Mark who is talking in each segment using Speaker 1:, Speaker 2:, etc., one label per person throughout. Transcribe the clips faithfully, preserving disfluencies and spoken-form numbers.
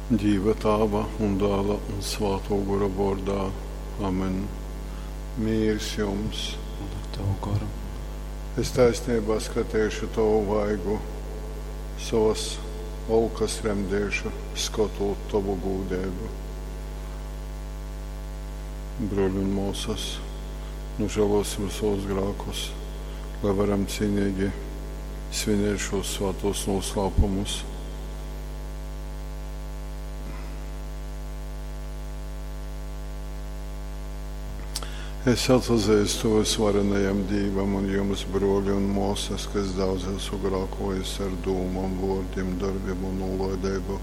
Speaker 1: Dīva Tāva un Dāla un Svātō Gora vōrdā. Amen. Mīrs jums!
Speaker 2: Un ar tavu goru.
Speaker 1: Es taisneibā skateišu tovu vaigu, sovas olkas remdeišu, skotūt tovu gūdeibu. Brōļi un mōsas, nožēlosim savus grākus, lai varam cīnīgi svinēt šos svātos noslēpumus. Es atpazīstu visvarenajam Dīvam un jums, brōļi un māsas, ka es daudz esmu grēkojis ar dūmām, vārdiem, darbiem un nolaidību.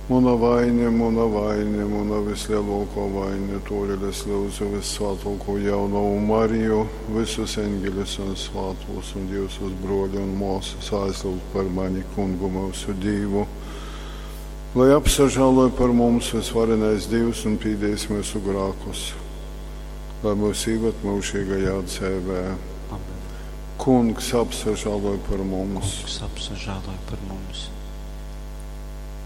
Speaker 1: Muna vaine, muna vaine, muna vislielākā vaine, tōdēļ es lūdzu vissvātāko jaunavu Mariju, visus eņģeļus un svātos un jūsus brōļi un māsas aizlūgt par mani kungu mūsu Dīvu. Lai apsažāloj par mums visvarenais Dievs un pīdīs mūsu grēkus, lai mūs ievad mūžīgajā dzīvē.
Speaker 2: Amen.
Speaker 1: Kungs apsažāloj par mums,
Speaker 2: Kungs apsažāloj par mums.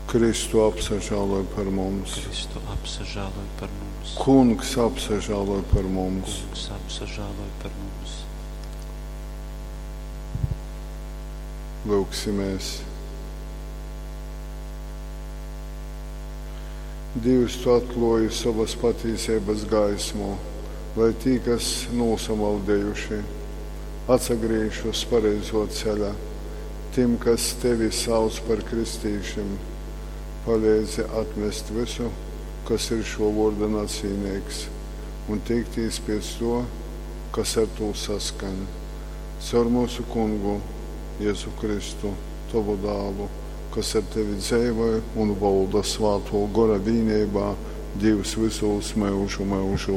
Speaker 1: Kristu apsažāloj par mums,
Speaker 2: Kristu apsažāloj par mums.
Speaker 1: Kungs apsažāloj par mums.
Speaker 2: Kungs apsažāloj par mums.
Speaker 1: Lūksimies. Dievs, tu atklāji savas patīsības gaismu, lai tie, kas nosamaldējuši, atsagriež uz pareizo ceļa. Tiem, kas tevi sauc par kristīšiem, palīdzi atmest visu, kas ir šo vārda nacīnīgs, un tiekties pēc to, kas ar to saskan. Caur mūsu kungu Jēzu Kristu, tavu dālu, kas ar tevi dzīvoja un valda svāto gora vienībā, Dievs visos mūžu mūžos.